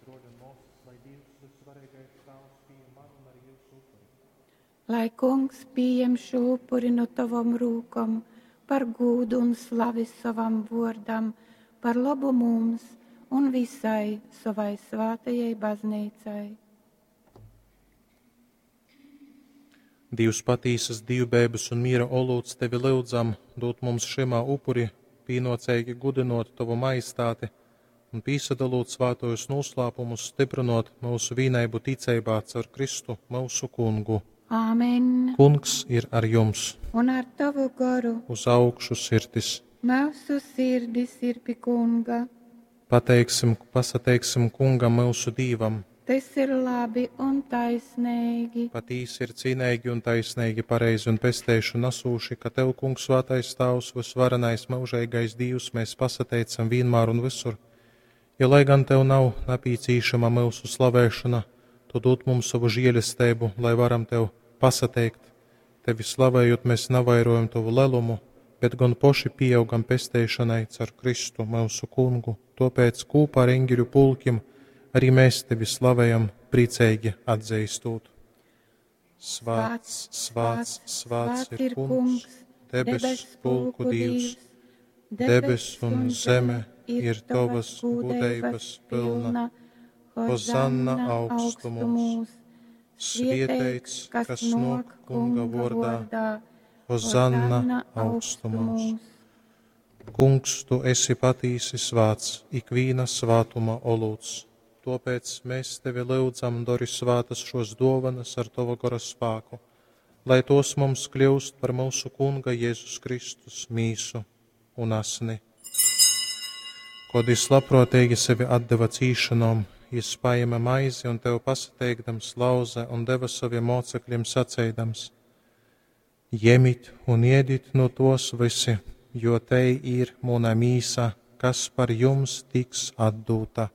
Bruoļi un muosys, lai Dīvs, Vysvareigais Tāvs, pījem manu un arī jyusu upuri. Lai Kungs pījem šū upuri nu tovom rūkom par gūdu un slavi sovam vōrdam, par lobu mums un visai sovai svātajai bazneicai. Dīvs patīsas dīvbeibas un miera olūts tevi lyudzam, dūd mums šymā upurī pīnōceigi gudynōt tovu majestāti un pīsadalūt svātojūs nūslāpumus styprynōt myusu vīneibu ticeibā caur Kristu myusu Kungu. Āmen. Kungs ir ar jums. Un ar tovu goru. Uz augšu sirdis. Myusu sirdis ir pi Kunga. Pateiksim, pasateiksim Kungam myusu Dīvam. Tys ir labi un taisneigi. Patīsi ir cīneigi un taisneigi, pareizi un pesteišu nasūši, ka Tev, Kungs, svātais Tāvs, vysvarenais myužeigais Dīvs, mēs pasateicam vienmēr un visur. Jo, lai gan Tev nav napīcīšama myusu slavēšana, Tu dod mums savu žēlesteibu, lai varam Tev pasateikt. Tevi slavējot, mēs navairojam Tavu lelumu, bet gan poši pieaugam pesteišanai caur Kristu, myusu Kungu. Topēc kūpā ar eņģeļu pulkim arī mēs Tevi slavējam, priecīgi atzīstot. Svāts, svāts, svāts ir Kungs, debes pulku Dievs. Debes un zeme ir Tavas gudrības pilna. Hozanna augstumos. Svietēts, kas nāk Kunga vārdā. Hozanna augstumos. Kungs, tu esi patīsi svāts, ikvīna svātuma olūts. Tāpēc mēs tevi lūdzam, dori svātas šos dovanas ar tava gara spēku, lai tos mums kļūst par mūsu Kunga Jēzus Kristus mīsu un asni. Kod jis labprātīgi sevi atdeva cīšanom, jis paēma maizi un tev pasateikdams lauze un deva saviem mocekļiem saceidams: Jemit un iedit no tos visi, jo te ir muna mīsa, kas par jums tiks atdūta.